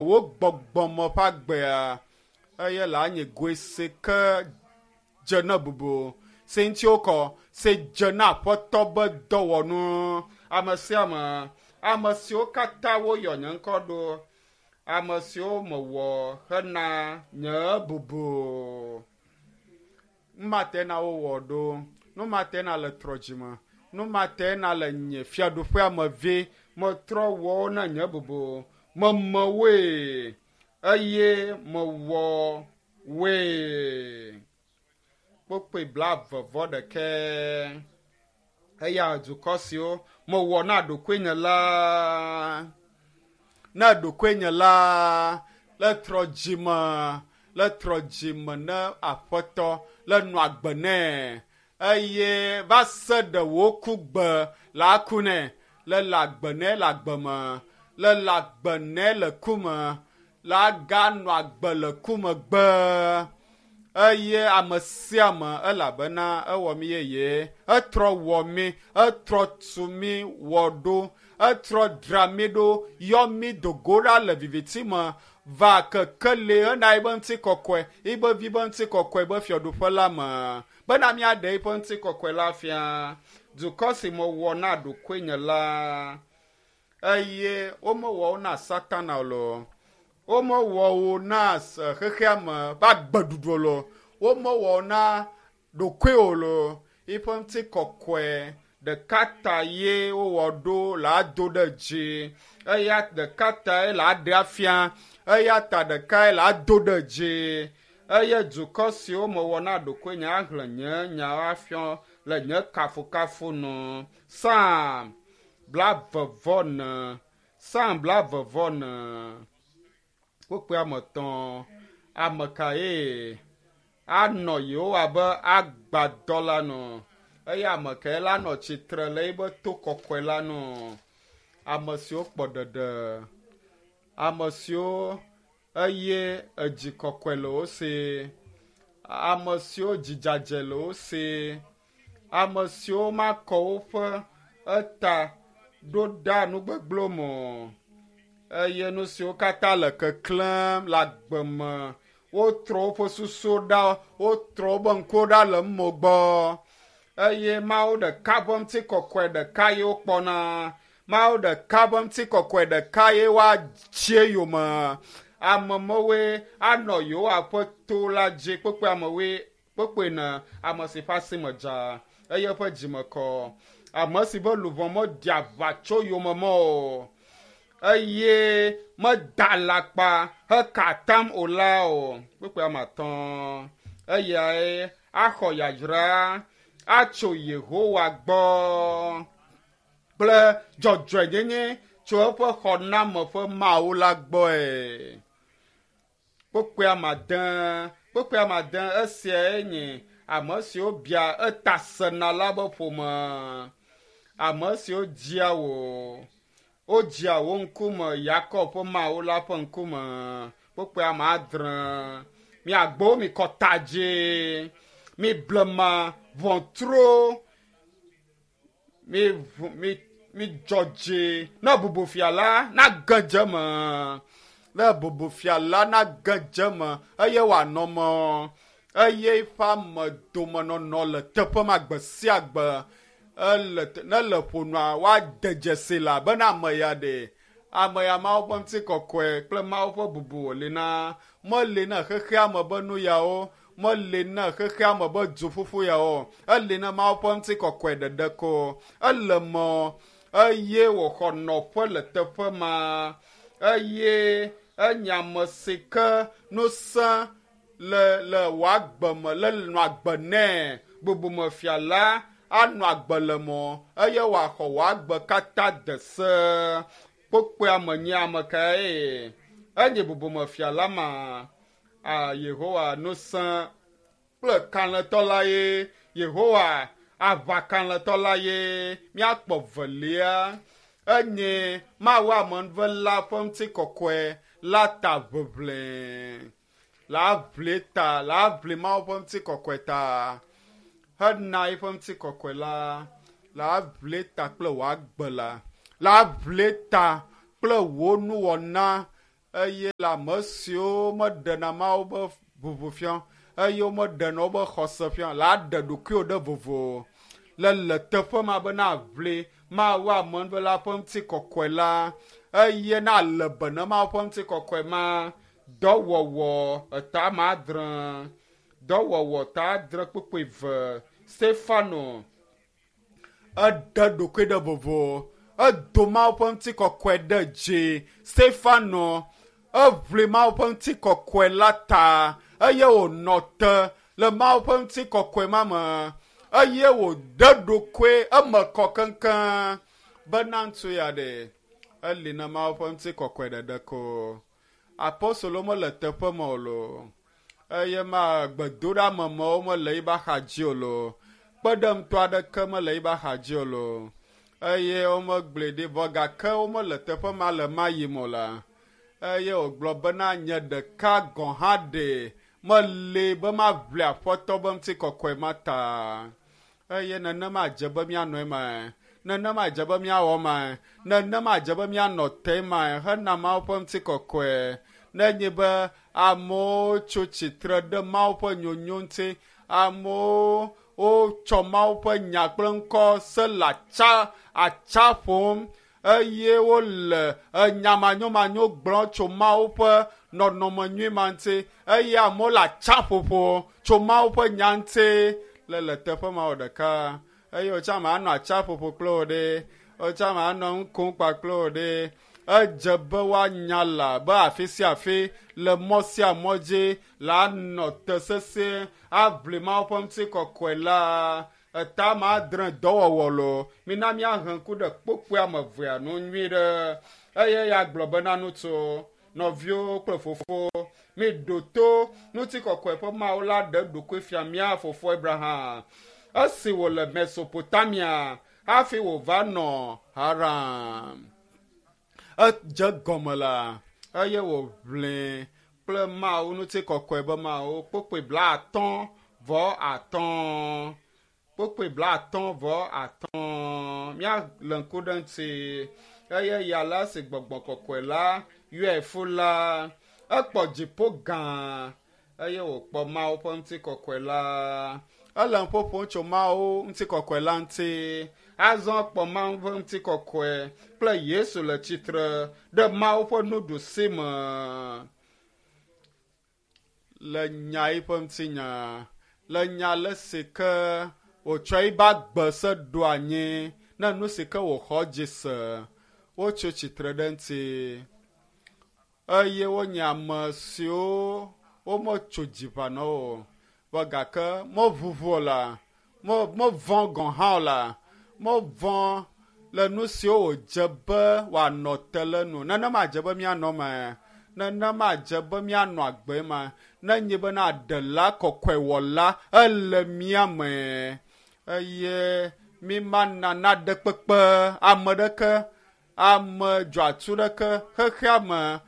Wò gbɔgbɔme ƒe agbea eye le anyi goe si ke dze na bubu si ŋuti wokɔ si dze na aƒetɔ be dɔwɔnu. Ame sia ame, ame siwo katã woyɔ nye ŋkɔ ɖo, ame siwo mewɔ hena nye bubu. Nu ma te na wowɔ ɖo, nu ma te na le trɔ dzime, nu ma te na le nye fiaɖuƒea me vi. Metrɔ wɔ wo na nye bubu, meme woe eye mewɔ woe. Kpokpoe 21. Eya dukɔ siwo mewɔ na ɖokuinye la, na ɖokuinye la, le trɔ dzime, le trɔ dzime ne aƒetɔ, le nɔ agbe nɛ eye va se ɖe wò ku gbe la aku nɛ, le le agbe nɛ le agbe me, le le agbe nɛ le ku me, la ganɔ agbe le ku megbe. Eye ame sia ame elabena ewɔ mí yeye, etrɔ wɔ mí, etrɔ tu mí wɔ ɖo, etrɔ dra mí ɖo, yɔ mí do go ɖa le viviti me va kekeli hena eƒe ŋutikɔkɔe, eƒe vi ƒe ŋutikɔkɔe be fiaɖuƒe la me bena míaɖe eƒe ŋutikɔkɔe la fia. Dukɔ si mewɔ na ɖokuinye la, eye womewɔ wo na Satana o loo, womewɔ wo na xexea me ƒe agbeɖuɖu o loo, womewɔ wo na ɖokuiwò loo, eƒe ŋutikɔkɔe ɖeka ta ye wowɔ ɖo le ado ɖe dzi, eya ɖeka tae le aɖe afia, eya ta ɖekae le ado ɖe dzi. Eye dukɔ siwo mewɔ na ɖokuinye ahlẽ nye nyawo afia le nye kafukafu nu. Psalm 44. Psalm 44. Kpukpui ame etɔ̃. Ame kae anɔ Yehowa be agbadɔ la nu? Eye ame kae la nɔ tsitre le eƒe to kɔkɔe la nu? Ame siwo kpɔ ɖeɖe, ame siwo eye edzi kɔkɔe le wo si, ame siwo dzi dzadzɛ le wo si, ame siwo makɔ woƒe eta ɖo ɖa nu gbegblẽwo me o eye nu siwo katã le keklẽm le agbe me, wotrɔ woƒe susuwo ɖa, wotrɔ woƒe ŋkuwo ɖa le mo gbɔ eye Mawu ɖeka ƒe ŋutikɔkɔe ɖeka ye wokpɔna. Mawu ɖeka ƒe ŋutikɔkɔe ɖeka ye woatsi eyome. Ame mewoe anɔ Yehowa ƒe to la dzi kpekpe amewoe kpekpe ne ame si ƒe asi me dza eye eƒe dzime kɔ, ame si ƒe luʋɔ meɖi aʋa tso yome mɔ o eye meda alakpa heka atam o la o. Kpekpe ame atɔ̃. Eyae axɔ yayra atso Yehowa gbɔ kple dzɔdzɔenyenye tso eƒe xɔname ƒe Mawu la gbɔe. Kpekpe ame ade, kpekpe ame ade esiae nye ame siwo bia eta sena la be ƒome. Ame siwo dzia wò, wodzia wò ŋkume Yakob ƒe Mawu la ƒe ŋkume. Kpekpe ame adre. Miagbo mi kɔ ta dzi, mi blema ʋɔtruwo, mi ʋu mi mi dzɔ dzi ne bubu fia la nage dze eme, ne bubu fia la nage dze eme eye wòanɔ me eye eƒe ame domenɔnɔ le teƒe ma gbe sia gbe. Ele ne le ƒonua woade dzesi la bena ame ya ɖe ame ya Mawu ƒe ŋutikɔkɔe kple Mawu ƒe bubu wòli na. Meli na xexea me be nu yawo, meli na xexea me be duƒuƒu yawo, eli na Mawu ƒe ŋutikɔkɔe ɖeɖe ko. Ele mɔ eye wòxɔ nɔƒe le teƒe ma eye enye ame si ke ŋusẽ le le wò agbe me le nɔ agbe nɛ. Bubumefia la anɔ agbe le mɔ eye wòaxɔ wò agbe katã de se. Kpokpoea me nye ame kae? Enye bubumefia la ma. A Yehowa ŋusẽ kple kalẽtɔ la ye. Yehowa aʋakalẽtɔ la ye. Míakpɔ velia. Enye Mawu amenuvela ƒe ŋutikɔkɔe la ta ʋeʋlẽ. La ʋli ta, la ʋli Mawu ƒe ŋutikɔkɔe ta. Hena eƒe ŋutikɔkɔe la, la ʋli ta kple wò agbe la. La ʋli ta kple wò nuwɔna. eye le ame siwo meɖena Mawu be ʋuʋu fia eye womeɖena wobe xɔse fia la ɖe ɖokuiwo ɖe vovo le le teƒe ma be na ʋli Mawu amenuvela ƒe ŋutikɔkɔe la eye na le be ne Mawu ƒe ŋutikɔkɔe ma. Dɔwɔwɔ eta ma adre, dɔwɔwɔ ta adre kpukpui eve. Stefano eɖe ɖokui ɖe vovo, edo Mawu ƒe ŋutikɔkɔe ɖe dzi. Stefano eʋli Mawu ƒe ŋutikɔkɔe la ta eye wònɔ te le Mawu ƒe ŋutikɔkɔe ma me eye wòɖe ɖokui eme kɔ keŋkeŋ bena ŋutsu ya ɖe eli na Mawu ƒe ŋutikɔkɔe ɖeɖe ko. Apostolo mele teƒe ma o loo eye ma gbedoɖamemewo mele yibe axadzi o loo, kpeɖeŋutɔ aɖeke mele yibe axadzi o loo eye womegblɔe ɖi vɔ gake womele teƒe ma le ma yim o la, eye wògblɔ bena nye ɖeka gɔ̃ hã ɖe meli be maʋli Aƒetɔ be ŋutikɔkɔe ma ta. Eye nenema dze be míanɔ emae, nenema dze be míawɔ emae, nenema dze be míanɔ te emae hena Mawu ƒe ŋutikɔkɔe. Nenye be amewo tso tsitre ɖe Mawu ƒe nyonyo ŋuti, amewo wotsɔ Mawu ƒe nya kple ŋkɔ se le atsa atsa ƒom eye wole enya manyomanyo gblɔm tso Mawu ƒe nɔnɔme nyui ma ŋuti eye amewo le atsaƒoƒo tso Mawu ƒe nya ŋuti le le teƒe ma wɔ ɖeka eye wòtsã ma anɔ atsaƒoƒo kple wo ɖe, wòtsã ma anɔ nu kom kpakple wo ɖe. Edze be woanya la be afi sia afi le mɔ sia mɔ dzi la anɔ te sesĩe aʋli Mawu ƒe ŋutikɔkɔe la. Eta ma adre dɔwɔwɔ lo. Mina míahe ŋku ɖe kpokpoe ame evea nu nyui ɖe. Eye ya gblɔ bena ŋutsu, nɔviwo kple fofo, miɖo to ŋutikɔkɔe ƒe Mawu la ɖe eɖokui fia mía fofo Abraham esi wòle Mesopotamia hafi wòva nɔ Haran. Edze gɔme la eye wòʋli kple Mawu ŋutikɔkɔe be Mawu kpokpoe 55 kpokpoe 55 míale ŋku ɖe ŋuti eye ya la si gbɔgbɔ kɔkɔe la yɔe fu la ekpɔ dziƒo gã eye wòkpɔ Mawu ƒe ŋutikɔkɔe la. Ele ƒoƒom tso Mawu ŋutikɔkɔe la ŋuti. Azɔ kpɔ Mawu ƒe ŋutikɔkɔe kple Yesu le tsitre ɖe Mawu ƒe nuɖusi me. Le nya yiƒe ŋutinya, le nya le si ke wòtsɔ yibe agbe se ɖo anyi ne nu si ke wòxɔ dzi se, wotso tsitre ɖe ŋuti eye wonye ame siwo wometso dziʋa na wo o. Vɔ gake meʋuʋu o la, mevɔ̃ gɔ̃ hã o la, mevɔ̃ le nu siwo wòdze be wòanɔ te le nu. Nenema dze be míanɔ eme, nenema dze be míanɔ agbe ma. Nenye bena ɖela kɔkɔewɔla ele mía me eye mi mana naɖe kpekpe ame ɖeke, ame dzɔatsu ɖeke xexea me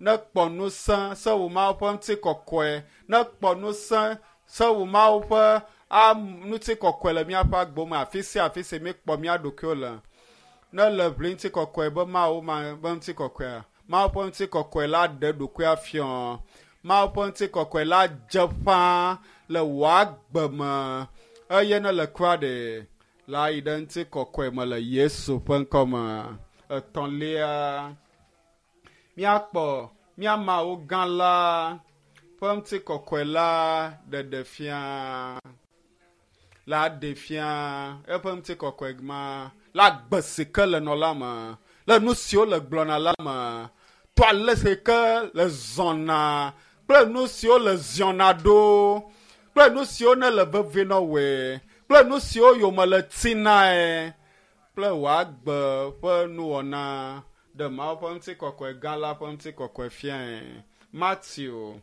nekpɔ ŋusẽ se wò Mawu ƒe ŋutikɔkɔe, nekpɔ ŋusẽ se wò Mawu ƒe ŋutikɔkɔe le míaƒe agbo me afi sia afi si míekpɔ mía ɖokuiwo le. Ne le ʋli ŋutikɔkɔe be Mawu ma be ŋutikɔkɔea, Mawu ƒe ŋutikɔkɔe la ɖe ɖokuia fiɔ. Mawu ƒe ŋutikɔkɔe la dze ƒãa le wò agbe me eye ne le kura ɖe la yi ɖe ŋutikɔkɔe me le Yesu ƒe ŋkɔ me. Etɔ̃lia, míakpɔ mía Mawu gã la ƒe ŋutikɔkɔe la ɖeɖe fia. La ɖe fia eƒe ŋutikɔkɔe ma le agbe si ke le nɔ la me, le nu siwo le gblɔna la me, to ale si ke le zɔna kple nu siwo le ziɔna ɖo kple nu siwo ne le vevie na woe kple nu siwo yome le tinae kple wò agbe ƒe nuwɔna ɖe Mawu ƒe ŋutikɔkɔe gã la ƒe ŋutikɔkɔe fiae. Mateo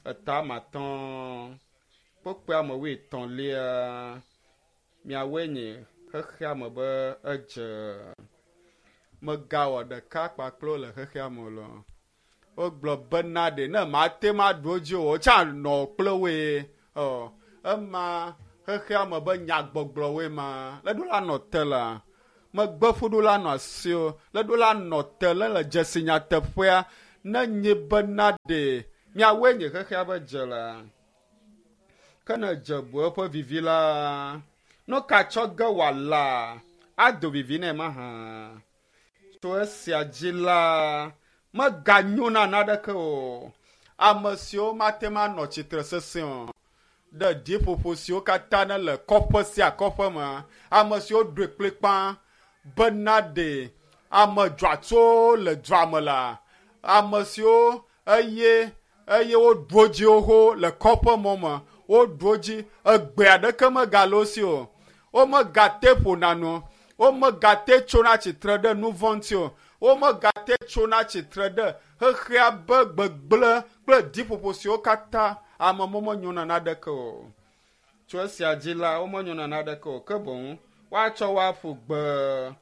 eta matɔ̃ kpokpoe ame wuietɔ̃lia miawoe nye xexea me be edze. Megawɔ ɖeka kpakple wo le xexea me o lɔ. Wogblɔ bena ɖe ne mate ŋu aɖu wo dzi o, wotsã nɔ kple woe. Ɔ, ema xexea me be nyagbɔgblɔwoe ma. Le ɖo la nɔ te la, megbe ƒuɖo la nɔ asi o. Le ɖo la nɔ te le le dzesi nyateƒea. Ne nye bena ɖe miawoe nye xexea be dze la. Ke ne dze bu eƒe vivi la, nu ka tsɔ ge wòala ado vivi nɛ mahã? Tso esia dzi la, meganyo na naneke o. Ame siwo mate ŋu anɔ tsitre sesẽ o ɖe ɖiƒoƒo siwo katã ne le kɔƒe sia kɔƒe me, ame siwo ɖoe kplikpaa bena ɖe ame dzɔatsuwo le dua me la, ame siwo eye eye woɖu wo dzi xoxo le kɔƒe mɔ me, woɖu wo dzi, egbe aɖeke megale wo si o. Womegate ƒona nu o, womegate tsona tsitre ɖe nu vɔ̃ ŋuti o, womegate tsona tsitre ɖe xexea be gbegblẽ kple ɖiƒoƒo siwo katã ame menyona naneke o. Tso esia dzi la, womenyona naneke o, ke boŋ woatsɔ wo aƒu gbe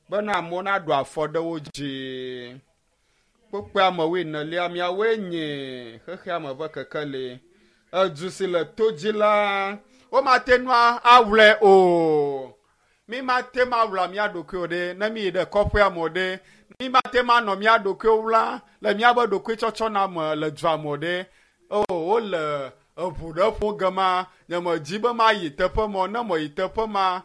bena amewo naɖu afɔ ɖe wo dzi. Kpukpui ame wuienelia, miawoe nye xexea me ƒe kekeli. Edu si le to dzi la, womate ŋu awlɔe o. Mi mate ŋu awla mía ɖokuiwo ɖe ne mi yi ɖe kɔƒea me o ɖe. Mi mate ŋu anɔ mía ɖokuiwo wla le míaƒe ɖokuitsɔtsɔna me le dua me o ɖe. O, wole eʋu ɖe ƒo ge ma. Nyemedi be mayi teƒe ma o. Ne meyi teƒe ma,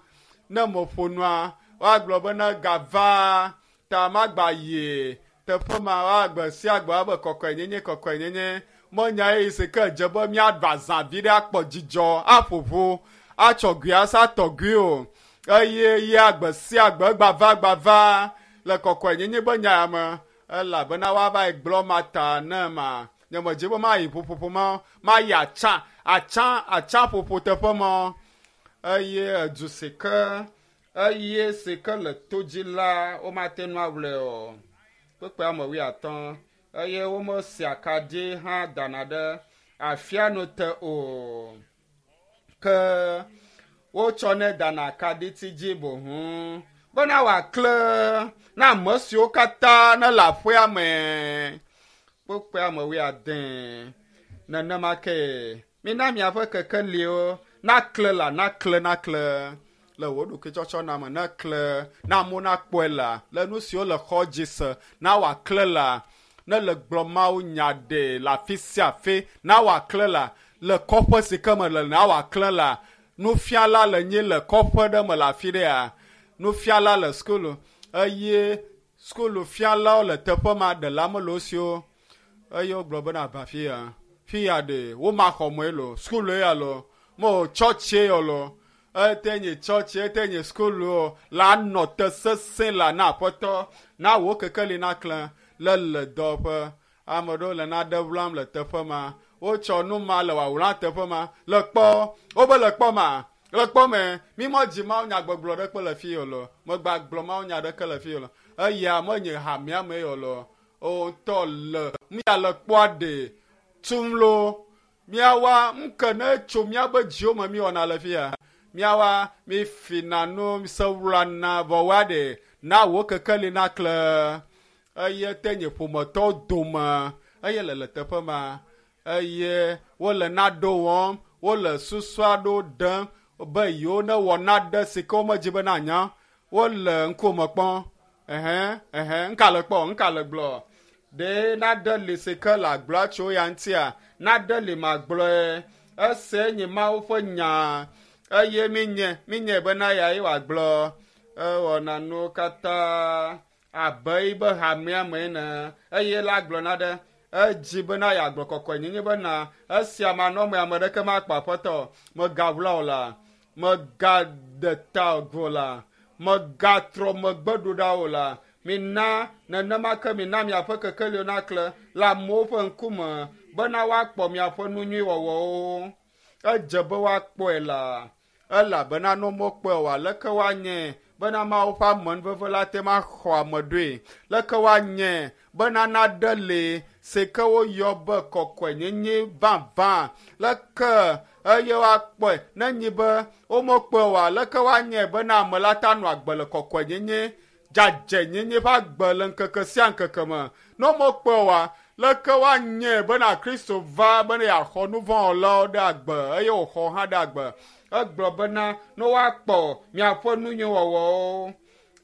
ne meƒo nua, woagblɔ be ne gava ta magba yi teƒe ma. Woagbe sia gbe woabe kɔkɔenyenye, kɔkɔenyenye. Menya ɣeyiɣi si ke dze be míaɖu azã vi ɖe akpɔ dzidzɔ, aƒo ʋu, atsɔ gui asa tɔ gui o. Eye ya gbe sia gbe gbava gbava le kɔkɔenyenye be nya ya me. Elabena woava yi gblɔ ma ta ne ma. Nyemedi be mayi ƒuƒoƒo ma, mayi atsa, atsa, atsa ƒoƒo teƒe ma. Eye edu si ke, eye si ke le to dzi la, womate ŋu awlɔe o. Kpukpui ame wuiatɔ̃. Eye womesia akaɖi hã dana ɖe afianu te o. Ke wotsɔnɛ dana akaɖiti dzi boŋ bena wòaklẽ na ame siwo katã ne le aƒea me. Kpukpui ame wuiade. Nenema ke mina miaƒe kekeliwo naklẽ la, naklẽ, naklẽ le wò ɖokuitsɔtsɔna me, neklẽ na amewo nakpɔe la, le nu siwo le xɔ dzi se, na wòaklẽ la, ne le gblɔ Mawu nya ɖe le afi sia afi, na wòaklẽ la, le kɔƒe si ke me le, na wòaklẽ la. Nufiala le nyi le kɔƒe ɖe me le afi ɖea, nufiala le sukulu eye sukulufialawo le teƒe ma ɖela mele wo si o. Eye wogblɔ bena ava fi ya, fi ya ɖe womaxɔ mɔe lo, sukulu ya lo, mo tsɔtsie yɔ lo, ete nye tsɔtsi, ete nye sukulu o, la nɔ te sesẽ la na aƒetɔ, na wò kekeli naklẽ le le dɔwɔƒe. Ame ɖewo le naɖe wlam le teƒe ma. Wotsɔ nu ma le wòawla teƒe ma. Le kpɔ, wobe le kpɔ ma, le kpɔ me, mi medzi Mawu nya gbɔgblɔ ɖeke le fi o lo. Megba gblɔ Mawu nya ɖeke le fi o lo. Eya menye hamea me o lo. O ŋutɔ le, mia le kpɔa ɖe tum lo. Miawa ŋke ne tso miabe dziwo me miwɔna le fia. Miawa mi fina nu sewlana vɔ woa ɖe na wò kekeli naklẽ. Eye te nye ƒometɔwo dome eye le le teƒe ma eye wole naɖo wɔm, wole susu aɖewo ɖem be yewo ne wɔ naɖe si ke womedzi be nanya. Wole ŋkume kpɔm. Ɛhɛ, ɛhɛ, ŋka le kpɔ, ŋka le gblɔ. Ɖe naɖe li si ke le agblɔa tso ya ŋutia, naɖe li magblɔe. Ese nye Mawu ƒe nya eye minye, minye bena ya ye wòagblɔ. Ewɔna nuwo katã abe yibe hamea me ene eye la gblɔ na ɖe edzi bena yeagblɔ kɔkɔenyenye bena esia manɔme ame ɖeke makpɔ aƒetɔ megawla o la, megade ta go la, megatrɔ megbe ɖo ɖa o la. Mina nenema ke mina miaƒe kekeliwo naklẽ le amewo ƒe ŋkume bena woakpɔ miaƒe nu nyui wɔwɔwo. Edze be woakpɔe la, elabena ne womekpɔe oa, leke woanye bena Mawu ƒe amenuveve la te ma xɔ ame ɖoe? Leke woanye bena naɖe li si ke woyɔ be kɔkɔenyenye vavã? Leke eye woakpɔe ne nyi be womekpɔe oa, leke woanye bena ame la ta nɔ agbe le kɔkɔenyenye dzadzɛnyenye ƒe agbe le ŋkeke sia ŋkeke me? Ne womekpɔe oa, leke woanye bena Kristo va bena yeaxɔ nu vɔ̃ wɔlawo ɖe agbe eye wòxɔ hã ɖe agbe? Egblɔ bena ne woakpɔ miaƒe nu nyui wɔwɔwo.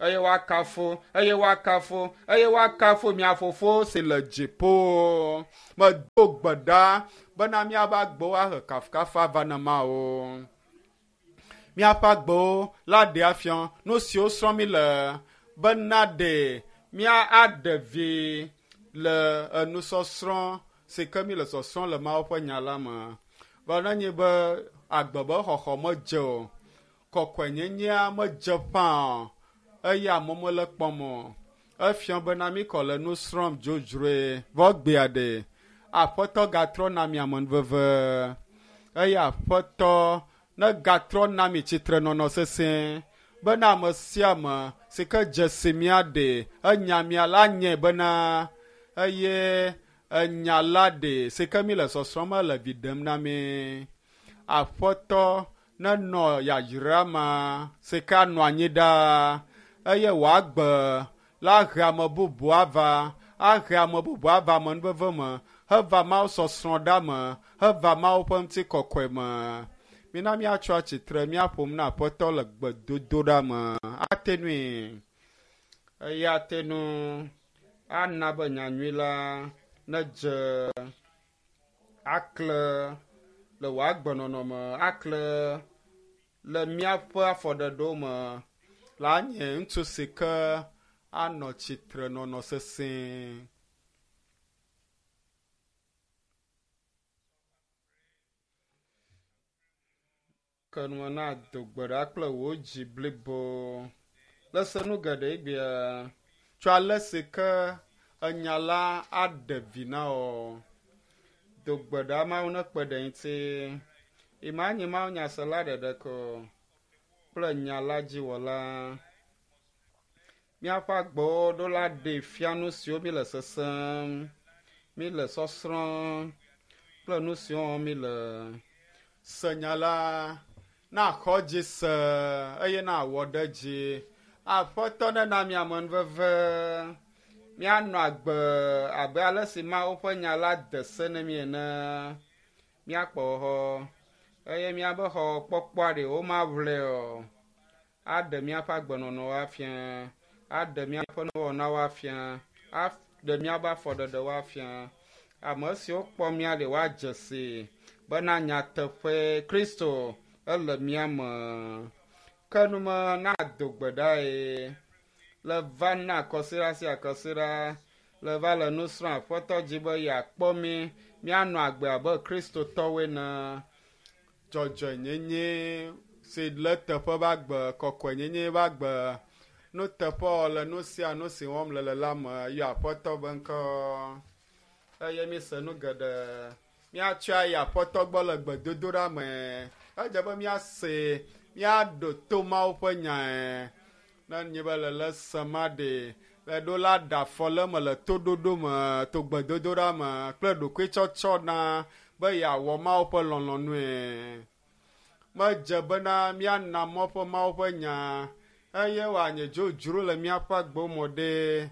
Eye woakafu, eye woakafu, eye woakafu mia Fofo si le dziƒo. Medo gbe ɖa bena míaƒe agbewo ahe kafukafu ava na Mawu. Míaƒe agbewo la ɖe afia nu siwo srɔ̃m mi le bena ɖe mía aɖe vi le enusɔsrɔ̃ si ke mi le sɔsrɔ̃m le Mawu ƒe nya la me. Vɔ nenye be agbe be xɔxɔ medze o, kɔkɔenyenyea medze ƒã o, eye amewo mele kpɔm o. Efia bena mi kɔ le nu srɔ̃m dzodzroe vɔ gbea ɖe Aƒetɔ gatrɔ na mi amenuveve eye Aƒetɔ negatrɔ na mi tsitrenɔnɔ sesẽ bena ame sia ame si ke dze si mía ɖe enya mia la nye bena eye enya la ɖe si ke mi le sɔsrɔ̃m le vi ɖem na mi. Aƒetɔ nenɔ yayra ma si ke anɔ anyi ɖaa eye wòagbe la he ame bubu ava, ahe ame bubu ava amenuveve me, heva Mawu sɔsrɔ̃ ɖa me, heva Mawu ƒe ŋutikɔkɔe me. Mina míatsɔ atsitre míaƒom na Aƒetɔ le gbedodoɖa me. Ate nui eye ate nu ana be nyanyui la nedze akle le wò agbenɔnɔ me, akle le míaƒe afɔɖeɖewo me la nye ŋutsu si ke anɔ tsitrenɔnɔ sesẽ. Ke nua na do gbe ɖa kple wò dzi blibo. Le se nu geɖe egbea tso ale si ke enya la aɖe vi na wò. Do gbe ɖa Mawu nekpe ɖe ŋuti. Ima nye Mawu nyasela ɖeɖe ko kple nya la dziwɔla. Míaƒe agbewo ɖo la ɖe fia nu siwo mi le sesem, mi le sɔsrɔ̃m kple nu siwo wɔm mi le. Se nya la, na xɔ dzi se eye na wɔ ɖe dzi. Aƒetɔ nena mi amenuveve. Míanɔ agbe abe ale si Mawu ƒe nya la de se na mi ene. Míakpɔ xɔxɔ eye míabe xɔxɔkpɔkpɔa ɖe womaʋlɛ o. Aɖe míaƒe agbenɔnɔwo afia, aɖe míaƒe nuwɔnawo afia, aɖe míaƒe afɔɖeɖewo afia. Ame siwo kpɔ mía ɖe woadze si bena nyateƒe Kristo ele mía me. Ke nume na do gbe ɖae le va na kɔsiɖa sia kɔsiɖa le va le nu srɔ̃m Aƒetɔ dzi be yeakpɔ mí míanɔ agbe abe Kristotɔwoe ene. Dzɔdzɔenyenye si le teƒe be agbe, kɔkɔenyenye be agbe, nuteƒewɔwɔ le nu sia nu si wɔm le le la me yɔ Aƒetɔ be ŋkɔ. Eye mi se nu geɖe. Míatsɔe ayi Aƒetɔ gbɔ le gbedodoɖa me. Edze be míase, míaɖo to Mawu ƒe nyae. Ne nye be le le se ma ɖe, le ɖo la ɖe afɔ le eme le toɖoɖo me, to gbedodoɖa me kple ɖokuitsɔtsɔ na be yeawɔ Mawu ƒe lɔlɔ̃nue. Medze bena míana mɔ ƒe Mawu ƒe nya eye wòanye dzodzro le míaƒe agbewo me ɖe.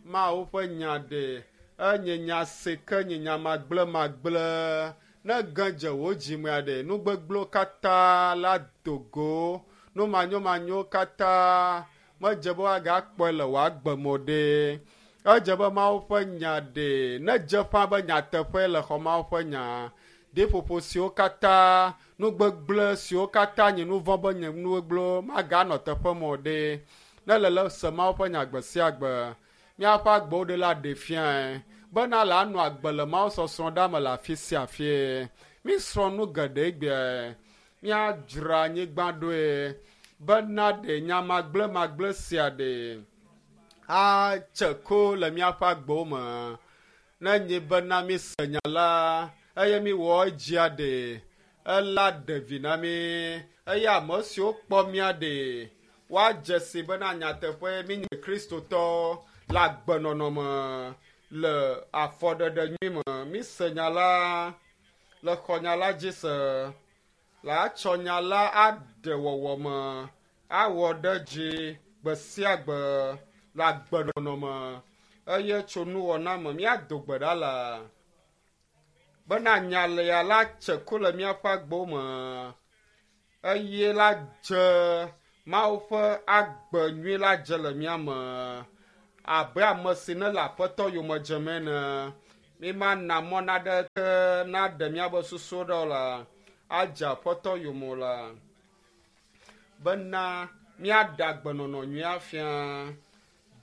Mawu ƒe nya ɖe enye nya si ke nye nya magblẽmagblẽ. Ne ge dze wò dzimea ɖe, nu gbegblẽwo katã la do go. Nu manyomanyowo katã medze be woagakpɔe le wò agbe me o ɖe. Edze be Mawu ƒe nya ɖe nedze ƒã be nyateƒe le xɔ Mawu ƒe nya. Ɖiƒoƒo siwo katã, nu gbegblẽ siwo katã nye nu vɔ̃ be nye nu gbegblẽwo maganɔ teƒe me o ɖe. Ne le le se Mawu ƒe nya gbe sia gbe, míaƒe agbewo ɖe la ɖe fiae bena le anɔ agbe le Mawu sɔsrɔ̃ ɖa me le afi sia afi. Mísrɔ̃ nu geɖe egbea. Míadzra anyigba ɖoe bena ɖe nya magblẽmagblẽ sia ɖe atse ko le míaƒe agbewo me. Ne nye bena míse nya la eye míwɔ edzia ɖe, ela ɖe vi na mí eye ame siwo kpɔ mía ɖe woadze si bena nyateƒe mínye Kristotɔ le agbenɔnɔ me le afɔɖeɖe nyui me. Míse nya la, le xɔ nya la dzi se, le atsɔ nya la aɖe wɔwɔ me, awɔ ɖe dzi gbe sia gbe le agbenɔnɔ me eye tso nuwɔna me míado gbe ɖa la bena nya lia la tse ku le míaƒe agbewo me eye la dze Mawu ƒe agbe nyui la dze le mía me abe ame si ne le Aƒetɔ yome dzem ene. Mímana mɔ naɖeke naɖe míaƒe susuwo ɖa o la, adze Aƒetɔ yome o la, bena míaɖe agbenɔnɔ nyui afia.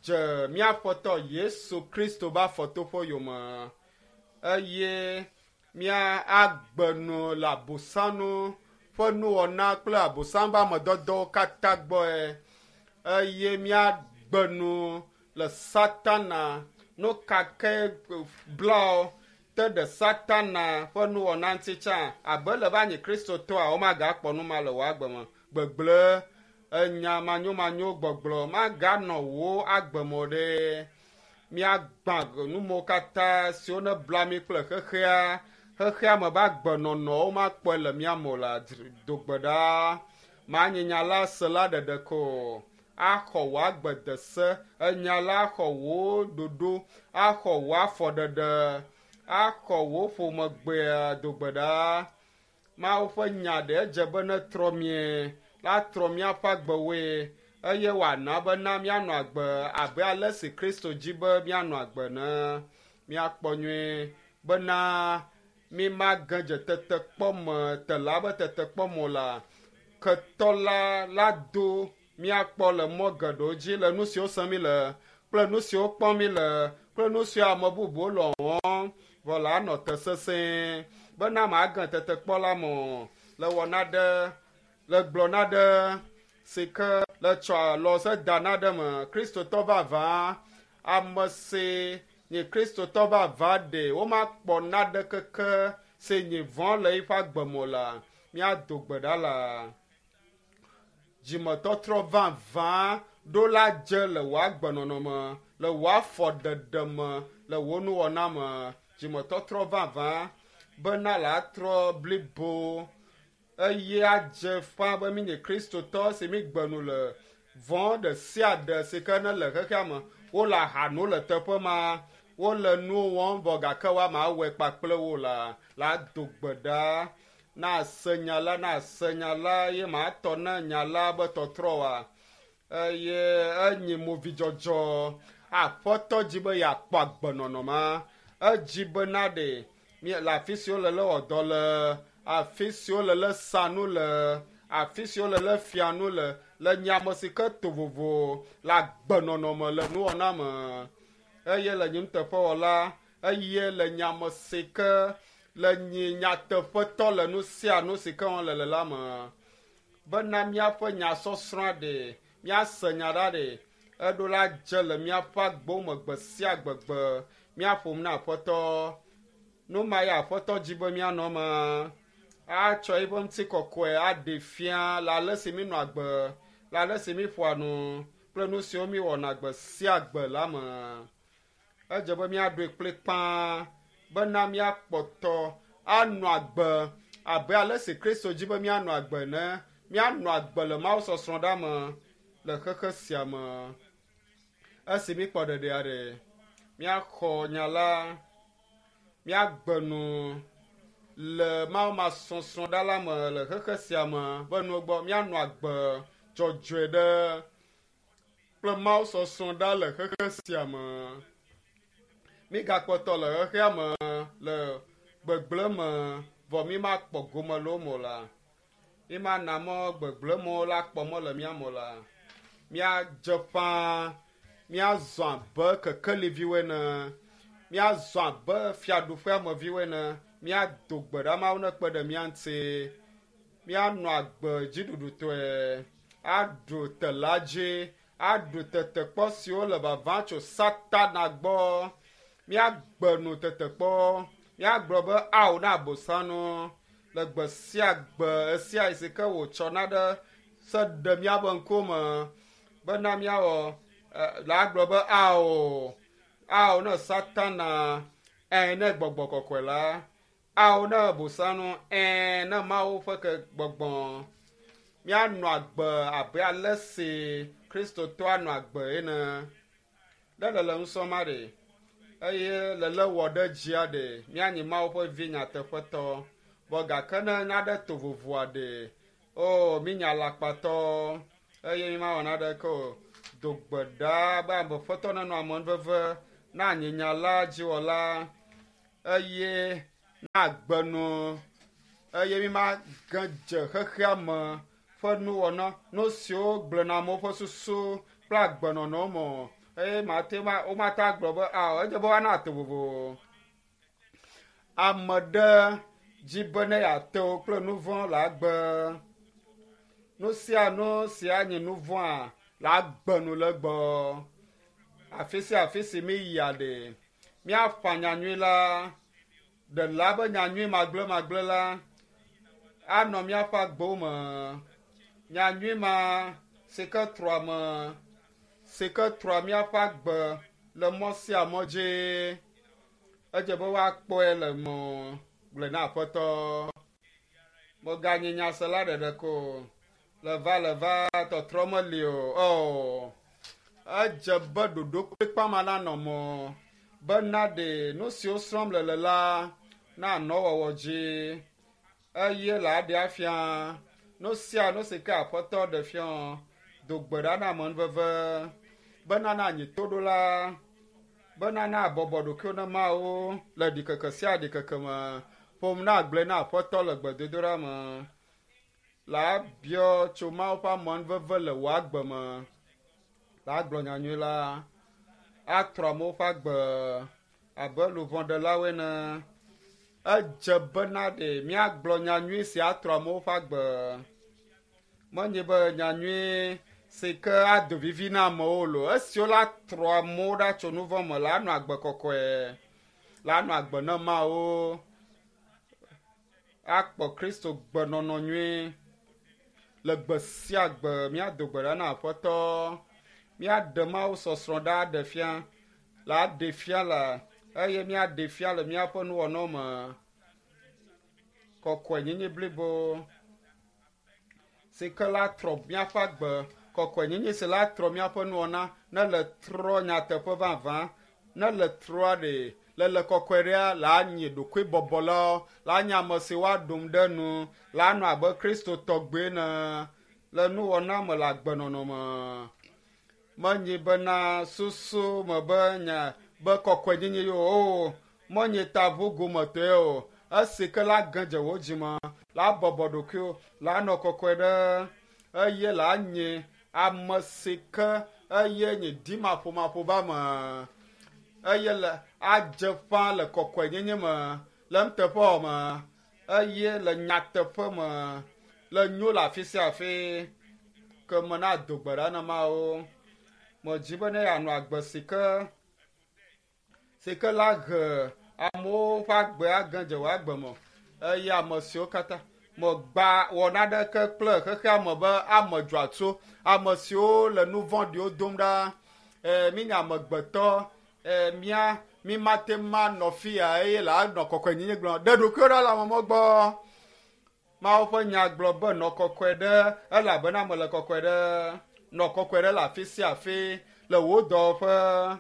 Dze mía Aƒetɔ Yesu Kristo ƒe afɔtoƒe yome eye mía agbe nu le abosanu ƒe nuwɔna kple abosam ƒe amedɔdɔwo katã gbɔe eye míagbe nu le Satana nu ka ke blawo te ɖe Satana ƒe nuwɔna ŋuti tsã abe le va nyi Kristotɔa womagakpɔ nu ma le wò agbe me. Gbegblẽ enya manyomanyo gbɔgblɔ maganɔ wò agbe me o ɖe. Míagbã numewo katã siwo ne bla mí kple xexea, xexea me be agbenɔnɔwo makpɔe le mía me o la do gbe ɖa. Manye nya la sela ɖeɖe ko axɔ wò agbe de se, enya la axɔ wò ɖoɖo, axɔ wò afɔɖeɖe, axɔ wò ƒomegbea do gbe ɖa. Mawu ƒe nya ɖe edze be netrɔ mie, la trɔ míaƒe agbewoe eye wòana bena míanɔ agbe abe ale si Kristo dzi be míanɔ agbe ne míakpɔ nyuie bena mímage dze tetekpɔ me tela be tetekpɔ me o la, ketɔ la la do míakpɔ le mɔ geɖewo dzi le nu siwo sem mí le kple nu siwo kpɔm mí le kple nu siwo ame bubuwo le wɔm vɔ la anɔ te sesẽ bena mage tetekpɔ la me o le wɔna ɖe le gblɔna ɖe si ke le tsɔ alɔ se dana ɖe me. Kristotɔ vavã, ame si nye Kristotɔ vavã ɖe womakpɔ naɖe keke si nye vɔ̃ le eƒe agbe me o la, míado gbe ɖa la. Dzimetɔtrɔ vavã ɖo la dze le wò agbenɔnɔ me, le wò afɔɖeɖe me, le wò nuwɔna me. Dzimetɔtrɔ vavã bena la trɔ blibo eye adze ƒã be mínye Kristotɔ si mígbe nu le vɔ̃ ɖe sia ɖe si ke ne le xexea me. Wole aha no le teƒe ma, wole nuwo wɔm vɔ gake woama awɔe kpakple wo la, la do gbe ɖa. Na se nya la, na se nya la ye matɔ ne nya la be tɔtrɔ wa. Eye enyi movidzɔdzɔ. Aƒetɔ dzi be yeakpɔ agbenɔnɔ ma. Edzi bena ɖe le afi siwo le le wɔ dɔ le, afi siwo le le sa nu le, afi siwo le le fia nu le, le nye ame si ke to vovo le agbenɔnɔ me le nuwɔna me. Eye le nye nuteƒewɔla, eye le nye ame si ke le nye nyateƒetɔ le nu sia nu si ke wɔm le le la me. Bena míaƒe nyasɔsrɔ̃a ɖe, míase nya ɖa ɖe, eɖo la dze le míaƒe agbewo me gbe sia gbegbe. Míaƒom na Aƒetɔ. Nu ma ye Aƒetɔ dzi be míanɔ eme. Atsɔ eƒe ŋutikɔkɔe aɖe fia le ale si mínɔ agbe, le ale si míƒoa nu kple nu siwo míwɔna gbe sia gbe la me. Edze be míaɖoe kplikpaa bena míakpɔtɔ anɔ agbe abe ale si Kristo dzi be míanɔ agbe ene. Míanɔ agbe le Mawu sɔsrɔ̃ ɖa me le xexe sia me. Esi míkpɔ ɖeɖea ɖe, míaxɔ nya la, míagbe nu le Mawu masɔsrɔ̃ ɖa la me le xexe sia me be nuwo gbɔ míanɔ agbe dzɔdzɔe ɖe kple Mawu sɔsrɔ̃ ɖa le xexe sia me. Mígakpɔtɔ le xexea me le gbegblẽ me vɔ mímakpɔ gome le wo me o la. Mímana mɔ gbegblẽ mɔwo la kpɔ mɔ le mía me o la. Míadze ƒãa, míazɔ abe kekeliviwo ene, míazɔ abe fiaɖuƒeameviwo ene, míado gbe ɖa Mawu nekpe ɖe mía ŋuti, míanɔ agbe dziɖuɖutɔe, aɖu tela dzi, aɖu tetekpɔ siwo le vava tso Satana gbɔ. Míagbe nu tetekpɔ, míagblɔ be ao na abosanu le gbe sia gbe esia si ke wòtsɔna ɖe se ɖe míaƒe ŋkume bena míawɔ la agblɔ be ao, ao ne Satana, ɛ ne gbɔgbɔ kɔkɔe la, ao ne abosanu, ɛ ne Mawu ƒe ke gbɔgbɔ. Míanɔ agbe abe ale si Kristotɔa nɔ agbe ene. Ne le le nusɔm aɖe eye le le wɔ ɖe dzia ɖe, míanyi Mawu ƒe vi nyateƒetɔ. Vɔ gake ne naɖe to vovoa ɖe, o mínya alakpatɔ. eye mi mawɔ naɖeke o. Do gbe ɖa be ameƒetɔ nenɔ amenuveve na anyinyala dziwɔla eye na agbenu eye mi mage dze xexea me ƒe nuwɔna nu siwo gblẽna amewo ƒe susu kple agbenɔnɔ me o. Eye mate ma womate agblɔ be ao edze be woana to vovo. Ame ɖe dzi be ne yeate wo kple nu vɔ̃ le agbe. Nu sia nu si anye nu vɔ̃a le agbe nu le gbɔ. Afi sia afi si mi yia ɖe míaƒã nyanyui la ɖela be nyanyui magblẽmagblẽ la anɔ míaƒe agbewo me. Nyanyui ma si ke trɔa me si ke trɔa míaƒe agbe le mɔ sia mɔ dzi. Edze be woakpɔe le mɔ gblɔe na aƒetɔ. Meganyi nyasela ɖeɖe ko le va le va tɔtrɔ meli o. Oh. Edze be ɖoɖo kplikpa ma nanɔ mɔ bena ɖe nu siwo srɔ̃m le le la nanɔ wɔwɔ dzi eye le aɖe afia nu sia nu si ke aƒetɔ ɖe fia do gbe ɖa na amenuveve bena na anyi toɖola bena na abɔbɔ ɖokuiwo na Mawu le ɖikeke sia ɖikeke me ƒom na agblɔe na aƒetɔ le gbedodoɖa me la abiɔ tso Mawu ƒe amenuveve le wò agbe me la agblɔ nyanyui la atrɔ amewo ƒe agbe abe luʋɔɖelawoe ene. Edze bena ɖe míagblɔ nyanyui si atrɔ amewo ƒe agbe. Menye be nyanyui si ke ado vivi na amewo lo. Esiwo la trɔ amewo ɖa tso nu vɔ̃ me la anɔ agbe kɔkɔe, la anɔ agbe na Mawu, akpɔ Kristo gbenɔnɔ nyui. Le gbe sia gbe míado gbe ɖa na Aƒetɔ, míaɖe Mawu sɔsrɔ̃ ɖa aɖe fia, la aɖe fia le eye míaɖe fia le míaƒe nuwɔnawo me. Kɔkɔenyenye blibo si ke la trɔ míaƒe agbe, kɔkɔenyenye si la trɔ míaƒe nuwɔna ne le trɔ nyateƒe vavã, ne le trɔa ɖe le le kɔkɔe ɖea la nye ɖokuibɔbɔlawo, la nye ame si woaɖom ɖe nu, la nɔ abe Kristo tɔgbe ene le nuwɔna me le agbenɔnɔ me. Menye bena susu me be nye be kɔkɔenyenye yo o, menye taʋugometɔe o. Esi ke la ge dze wò dzime, la bɔbɔ ɖokuiwò, la nɔ kɔkɔe ɖe eye la nye ame si ke eye nye dimaƒomaƒo ba me eye le adze ƒã le kɔkɔenyenye me, le nuteƒewɔwɔ me eye le nyateƒe me, le nyo le afi sia afi ke me na do gbe ɖa na Mawu. Medzi be ne yeanɔ agbe si ke la he amewo ƒe agbe age dze wò agbe me eye ame siwo katã megba wɔ naɖeke kple xexea me be ame dzɔatso, ame siwo le nu vɔ̃ɖiwo dom ɖa, mi nye amegbetɔ, mía mi mate ma nɔ fia eye le anɔ kɔkɔenyenye gblɔm. Ɖe ɖokuiwò ɖa le amewo gbɔ. Mawu ƒe nya gblɔ be nɔ kɔkɔe ɖe elabena mele kɔkɔe ɖe. Nɔ kɔkɔe ɖe le afi sia afi le wò dɔwɔƒe,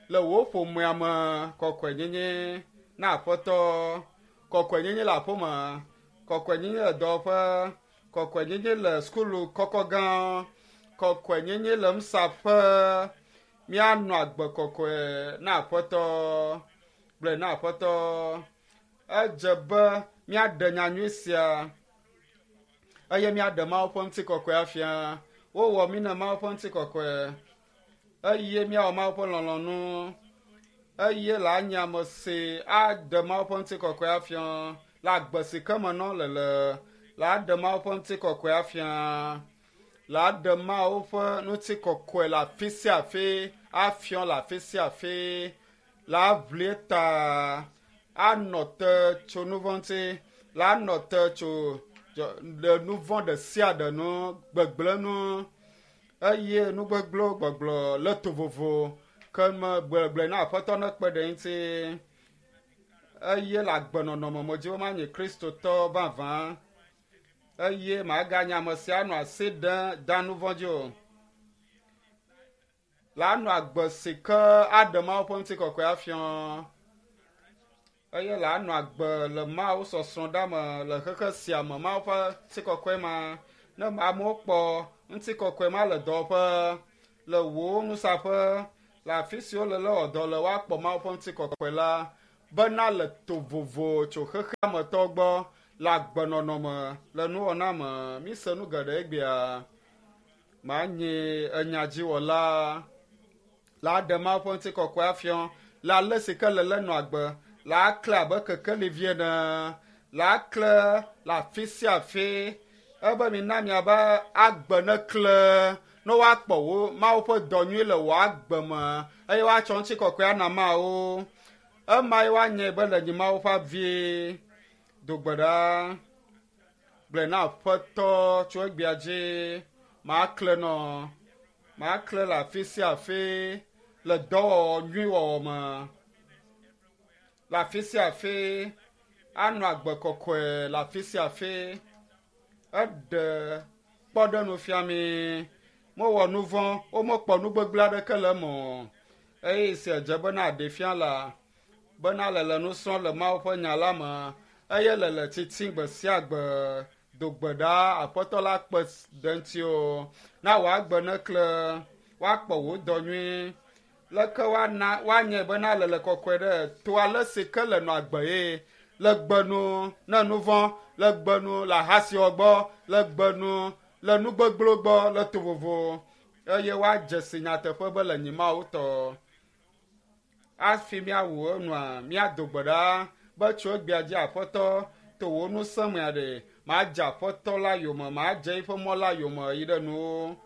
le wò ƒomea me, kɔkɔenyenye na Aƒetɔ. Kɔkɔenyenye le aƒeme, kɔkɔenyenye le dɔwɔƒe, kɔkɔenyenye le sukulu kɔkɔ gã, kɔkɔenyenye le nusaƒe. Míanɔ agbe kɔkɔe na Aƒetɔ, gblɔe na Aƒetɔ. Edze be míaɖe nyanyui sia eye míaɖe Mawu ƒe ŋutikɔkɔe afia. Wowɔ mí na Mawu ƒe ŋutikɔkɔe eye míawɔ Mawu ƒe lɔlɔ̃nu eye le anye ame si aɖe Mawu ƒe ŋutikɔkɔe afia le agbe si ke me nɔ le le aɖe Mawu ƒe ŋutikɔkɔe afia, le aɖe Mawu ƒe ŋutikɔkɔe le afi sia afi afia le afi sia afi, le aʋli ta anɔ te tso nu vɔ̃ ŋuti, le anɔ te tso le nu vɔ̃ ɖe sia ɖe nu, gbegblẽ nu eye nu gbegblẽwo gbɔgblɔ le to vovo ke me gblegble na Aƒetɔ ne kpe ɖe eŋuti eye le agbenɔnɔ me medzi be manye Kristotɔ vavã eye maganye ame sia anɔ asi ɖem da nu vɔ̃ dzi o. La anɔ agbe si ke aɖe Mawu ƒe ŋutikɔkɔe afia eye la anɔ agbe le Mawu sɔsrɔ̃ ɖa me le xexe sia me Mawu ƒe ŋutikɔkɔe ma ne amewo kpɔ Ŋutikɔkɔe ma le dɔwɔƒe, le wò nusaƒe, le afi si wole le wɔ dɔ le woakpɔ Mawu ƒe ŋutikɔkɔe la bena le to vovo tso xexeametɔ gbɔ le agbenɔnɔ me, le nuwɔna me. Mise nu geɖe egbea. Manye enyadziwɔla la aɖe Mawu ƒe ŋutikɔkɔe afiɔ le ale si ke le le nɔ agbe la akle abe kekeli vi ene la akle le afi sia afi ebe mina miabe agbe nekle ne woakpɔ wo Mawu ƒe dɔ nyui le wò agbe me eye woatsɔ ŋutikɔkɔe ana Mawu. Ema ye woanye be le nyi Mawu ƒe avi. Do gbe ɖa gblɔe na Aƒetɔ tso egbea dzi makle nɔ makle le afi sia afi le dɔwɔwɔ nyui wɔwɔ me le afi sia afi anɔ agbe kɔkɔe le afi sia afi. Eɖe kpɔɖeŋu fia mi. Mewɔ nu vɔ̃, womekpɔ nu gbegblẽ aɖeke le eme o. Eye si edze bena aɖee fia la, bena le le nu srɔ̃m le Mawu ƒe nya la me eye le le tsitsim gbe sia gbe. Do gbe ɖa Aƒetɔ la kpe ɖe ŋutiwò. Na wò agbe nekle, woakpɔ wò dɔ nyui. Leke woana woanyae bena le le kɔkɔe ɖe to ale si ke le nɔ agbe ye le gbe nu ne nu vɔ̃, le gbe nu le ahasiwɔ gbɔ, le gbe nu le nu gbegblẽwo gbɔ, le to vovo eye woadze si nyateƒe be le nyi Mawu tɔ. Hafi míawu enua, míado gbe ɖa be tso egbea dzi Aƒetɔ, to wò ŋusẽ mea ɖe, madze Aƒetɔ la yome, madze eƒe mɔ la yome yi ɖe nuwo.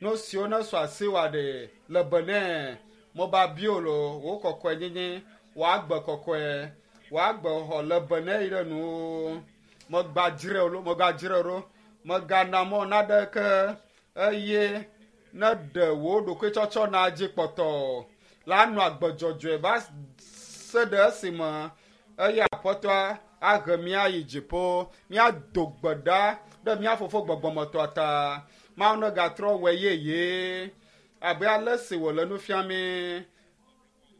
Nu siwo nesu asiwòa ɖe, le be nɛ. Meba bio lo, wò kɔkɔenyenye, wò agbe kɔkɔe, wò agbe xɔxɔ le be nɛ yi ɖe nuwo. Megbadzrae lo, megadzrae ɖo. Megana mɔ naɖeke eye ne ɖe wò ɖokuitsɔtsɔ na dzi kpɔtɔ la anɔ agbe dzɔdzɔe va se ɖe esime eye Aƒetɔa ahe mía yi dziƒo. Míado gbe ɖa ɖe mía Fofo gbɔgbɔmetɔa ta. Mawu negatrɔ wɔe yeye abe ale si wòle nu fiam mí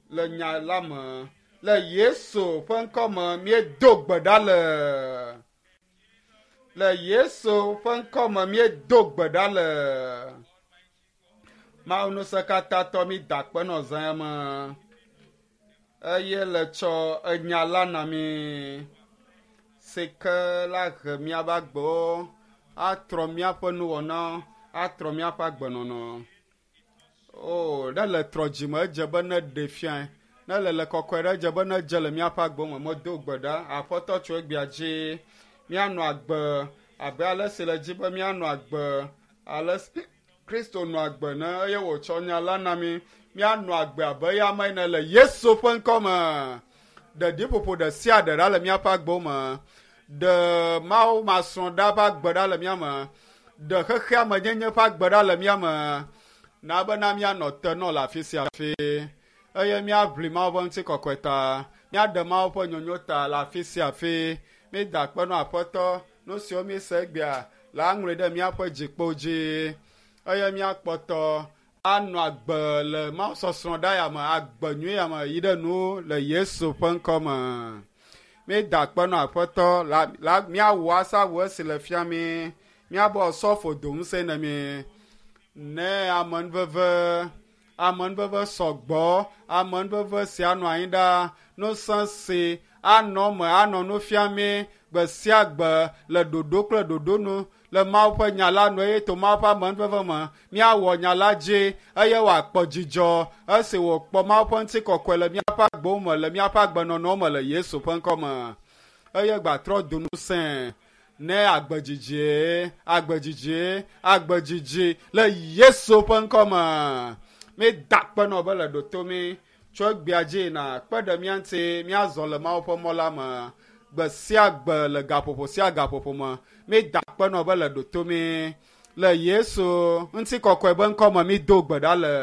le nya la me. Le Yesu ƒe ŋkɔ me míedo gbe ɖa le. Le Yesu ƒe ŋkɔ me míedo gbe ɖa le. Mawu ŋusẽkatãtɔ mí da akpe nɔ zã ya me eye le tsɔ enya la na mí si ke la he míaƒe agbewo atrɔ míaƒe nuwɔna atrɔ míaƒe agbenɔnɔ. O, ne le trɔ dzime edze be ne ɖe fiae. Ne le le kɔkɔe ɖe edze be ne dze le míaƒe agbe me. Medo gbe ɖa, Aƒetɔ tso egbea dzi. Míanɔ agbe abe ale si le dzi be míanɔ agbe ale si Kristo nɔ agbe ne eye wòtsɔ nya la na mí. Míanɔ agbe abe eya ame ene le Yesu ƒe ŋkɔ me. Ɖe ɖiƒoƒo ɖe sia ɖe ɖa le míaƒe agbewo me. Ɖe Mawu masrɔ̃ ɖa ƒe agbe ɖa le mía me. Ɖe xexea me nyenye ƒe agbe ɖa le mía me. Na bena míanɔ te nɔ le afi sia afi eye míaʋli Mawu ƒe ŋutikɔkɔe ta. Míaɖe Mawu ƒe nyonyo ta le afi sia afi. Mída akpe nɔ Aƒetɔ nu siwo míese egbea la ŋlɔe ɖe míaƒe dzikpo dzi eye míakpɔtɔ anɔ agbe le Mawu sɔsrɔ̃ ɖa ya me, agbe nyui ya me yi ɖe nu le Yesu ƒe ŋkɔ me. Mída akpe nɔ Aƒetɔ la, la míawɔ asawu esi le fia mí. Míabɔ sɔfo do ŋusẽ ne mí. Ne amenuveve, amenuveve sɔgbɔ, amenuveve sia nɔ anyi ɖa, ŋusẽ si anɔ eme anɔ nu fiam mí gbe sia gbe le ɖoɖo kple ɖoɖo nu le Mawu ƒe nya la nu eye to Mawu ƒe amenuveve me míawɔ nya la dzi eye wòakpɔ dzidzɔ esi wòkpɔ Mawu ƒe ŋutikɔkɔe le míaƒe agbewo me le míaƒe agbenɔnɔwo me le Yesu ƒe ŋkɔ me. Eye gbatrɔ do ŋusẽ ne agbe dzidzie, agbe dzidzie, agbe dzidzi le Yesu ƒe ŋkɔ me. Mída akpe nɔ be le ɖo to mí tso egbea dzi na kpe ɖe mía ŋuti míazɔ le Mawu ƒe mɔ la me gbe sia gbe le gaƒoƒo sia gaƒoƒo me. Mída akpe nɔ be le ɖo to mí le Yesu ŋutikɔkɔe be ŋkɔ me mído gbe ɖa le.